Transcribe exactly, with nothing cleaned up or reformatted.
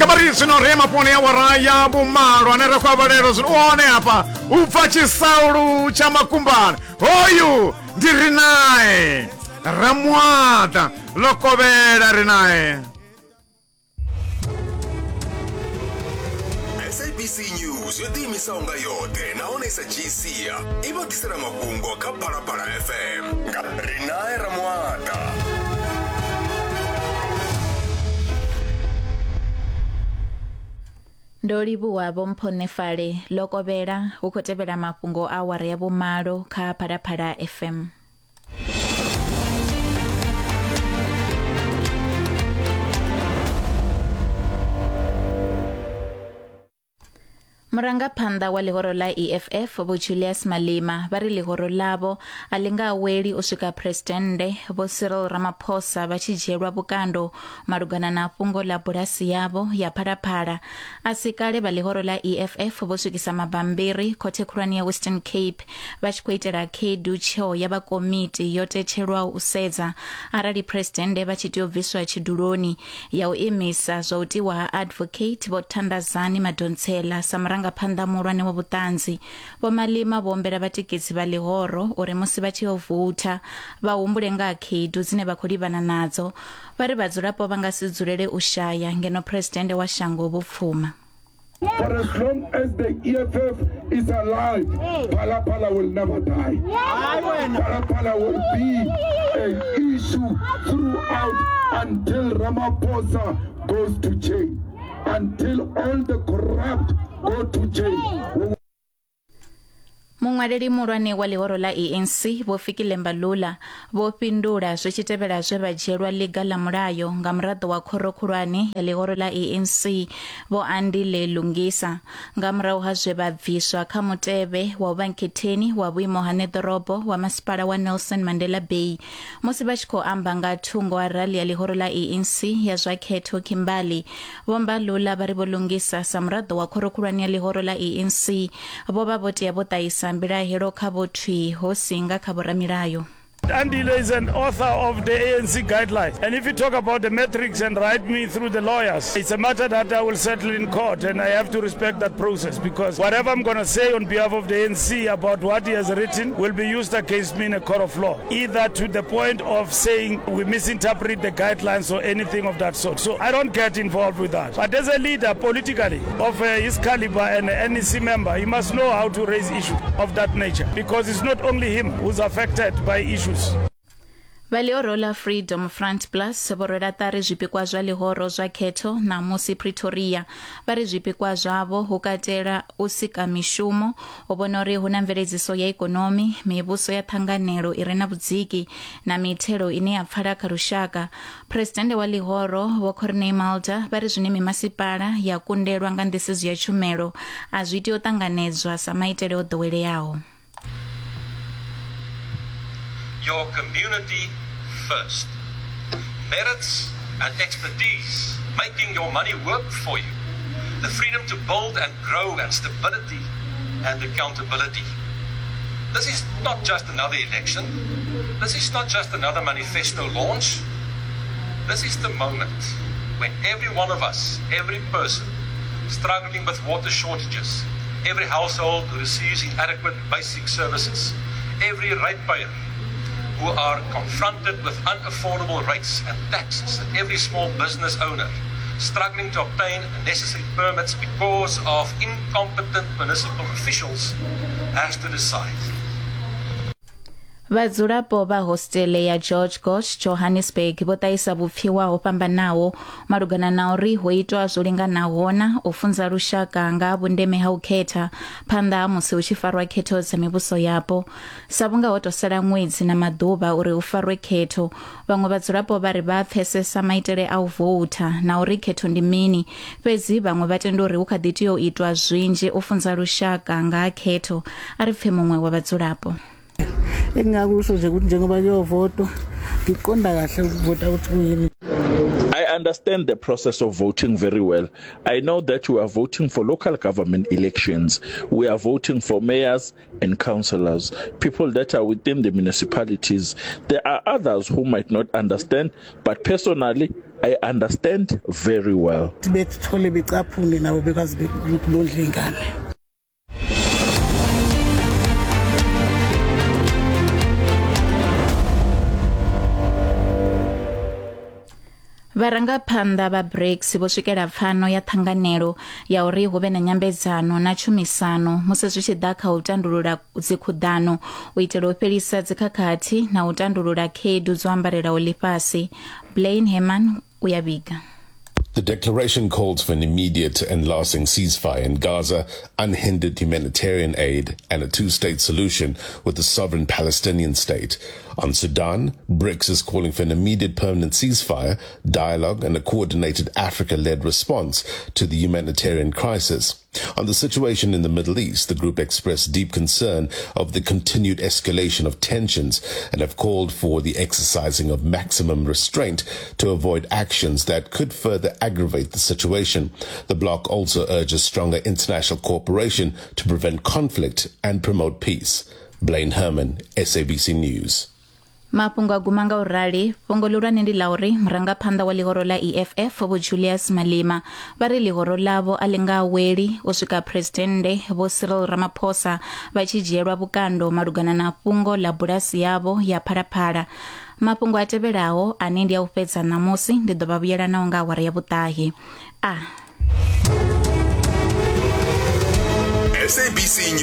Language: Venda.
Nga vha ri zwino ri mafhungoni ya awara ya vhumalo ane ra khou a vhalelwa zwino u hone hafha u bva Tshisaulu tsha Makumbane. Hoyu ndi ri nae Ramuaḓa ḽo kovhela ri nae. S A B C News yo ḓiimisaho nga yoṱhe nahone sa dzhii sia i vha ḓisela mafhungo kha Phalaphala F M nga Rinae Ramuaḓa. Ndo livhuwa Vho Mphonefale ḽo kovhela hu khou tevhela mafhungo a awara ya vhumalo kha Phalaphala F M. Murangaphanḓa wa ḽihoro ḽa E F F Vho Julius Malema vha ri ḽihoro ḽavho a ḽi nga aweli u swika Phresidennde Vho Cyril Ramaphosa vha tshi dzhielwa vhukando malugana na fhungo ḽa bulasi yavho ya Phalaphala. A si kale vha ḽihoro ḽa E F F vho swikisa mabambiri khothe khulwane ya Western Cape vha tshi khou itela khaedu tsheo ya vha komiti yo tetshelwaho u sedza arali Phresidennde vha tshi tea u bviswa tshiduloni ya u imisa zwa u tiwa ha Advocate Vho Thandazani Madonsela sa muranga phanḓa muhulwane wa vhuṱanzi. Vho Malema vho ombela vhatikedzi vha ḽihoro uri musi vha tshi yo voutha vha humbule nga ha khaedu dzine vha khou livhana nadzo. Vha ri vhadzulapo vha nga si dzulele u shaya ngeno Phresidennde wa shango vho pfuma. For as long as the E F F is alive, Phalaphala will never die. Phalaphala will be an issue throughout until Ramaphosa goes to jail, until all the corrupt go to jail. Muṅwaleli muhulwane wa ḽihoro ḽa A N C Vho Fikile Mbalula vho fhindula zwi tshi tevhela zwe vha dzhielwa ḽiga ḽa mulayo nga muraḓo wa khoro khulwane ya ḽihoro ḽa A N C Vho Andile Lungisa nga murahu ha zwe vha bviswa kha mutevhe wa u vha nkhetheni wa vhuimo ha ṋeḓorobo wa masipala wa Nelson Mandela Bay. Musi vha tshi khou amba nga thungo ha rali ya ḽihoro ḽa A N C ya zwa khetho Kimberley, Vho Mbalula vha ri Vho Lungisa sa muraḓo wa khoro khulwane ya ḽihoro ḽa A N C vho vha vho tea vho ṱahisa mbilahelo kha vho thwi ho singa kha vhoramilayo. Andile is an author of the A N C guidelines. And if you talk about the metrics and write me through the lawyers, it's a matter that I will settle in court, and I have to respect that process, because whatever I'm going to say on behalf of the A N C about what he has written will be used against me in a court of law, either to the point of saying we misinterpret the guidelines or anything of that sort. So I don't get involved with that. But as a leader politically of uh, his caliber and an N E C member, he must know how to raise issues of that nature, because it's not only him who's affected by issues. Vha ḽihoro ḽa Freedom Front Plus vho rwela ṱari zwipikwa zwa ḽihoro zwa khetho ṋamusi Pretoria. Vha ri zwipikwa zwavho hu katela u sika mishumo, u vhona uri hu na mveledziso ya ikonomi, mivhuso ya ṱhanganelo i re na vhudziki na mithelo ine ya pfala kha lushaka. Phresidennde wa ḽihoro Vho Corne Mulder vha ri zwine mimasipala ya kundelwa nga nḓisedzo ya tshumelo a zwi tea u ṱanganedzwa sa maitele o ḓoweleaho. Your community first. Merits and expertise, making your money work for you. The freedom to build and grow, and stability and accountability. This is not just another election. This is not just another manifesto launch. This is the moment when every one of us, every person struggling with water shortages, every household who receives inadequate basic services, every ratepayer who are confronted with unaffordable rates and taxes, and every small business owner struggling to obtain necessary permits because of incompetent municipal officials, has to decide. Vhadzulapo vha hostele ya George Goch Johannesburg vho ṱahisa vhupfiwa ho fhambanaho malugana na uri ho itwa zwo linganaho na u funza lushaka nga vhundeme ha u khetha phanḓa ha musi hu tshi farwa khetho dza mivhuso yapo. Sa vhunga ho tou sala ṅwedzi na maḓuvha uri hu farwe khetho, vhaṅwe vhadzulapo vha ri vha pfesesa maitele a u voutha na uri khetho ndi mini, fhedzi vhaṅwe vha tenda uri hu kha ḓi tea u itwa zwinzhi u funza lushaka nga ha khetho. A ri pfe muṅwe wa vhadzulapo. Engingakusho nje ukuthi njengoba kuyovotwa ngiqonda kahle ukuvota ukuthi kuyini. I understand the process of voting very well. I know that we are voting for local government elections. We are voting for mayors and councillors, people that are within the municipalities. There are others who might not understand, but personally, I understand very well. Bethole becaphune nabo bekwazi ukubondla ingane. Vharangaphanḓa vha BRICS vho swikela pfano ya ṱhanganelo ya uri hu vhe na nyambedzano na tshumisano musi zwi tshi ḓa kha u tandulula dzikhuḓano u itela u fhelisa dzikhakhathi na u tandulula khaedu dzo ambarelaho ḽifhasi. Blaine Herman u ya vhiga. The declaration calls for an immediate and lasting ceasefire in Gaza, unhindered humanitarian aid, and a two-state solution with the sovereign Palestinian state. On Sudan, BRICS is calling for an immediate permanent ceasefire, dialogue, and a coordinated Africa-led response to the humanitarian crisis. On the situation in the Middle East, the group expressed deep concern of the continued escalation of tensions and have called for the exercising of maximum restraint to avoid actions that could further aggravate the situation. The bloc also urges stronger international cooperation to prevent conflict and promote peace. Blaine Herman, S A B C News. Mafhungo a guma nga u rali. Fhungo ḽihulwane ndi ḽa uri murangaphanḓa wa ḽihoro ḽa E F F Vho Julius Malema vha ri ḽihoro ḽavho a ḽi nga aweli u swika Phresidennde Vho Cyril Ramaphosa vha tshi dzhielwa vhukando malugana na fhungo ḽa bulasi yavho ya Phalaphala. Mafhungo a tevhelaho ane ndi a u fhedza ṋamusi ndi ḓo vha vhuyela nao nga awara ya vhuṱahe. A S A B C News.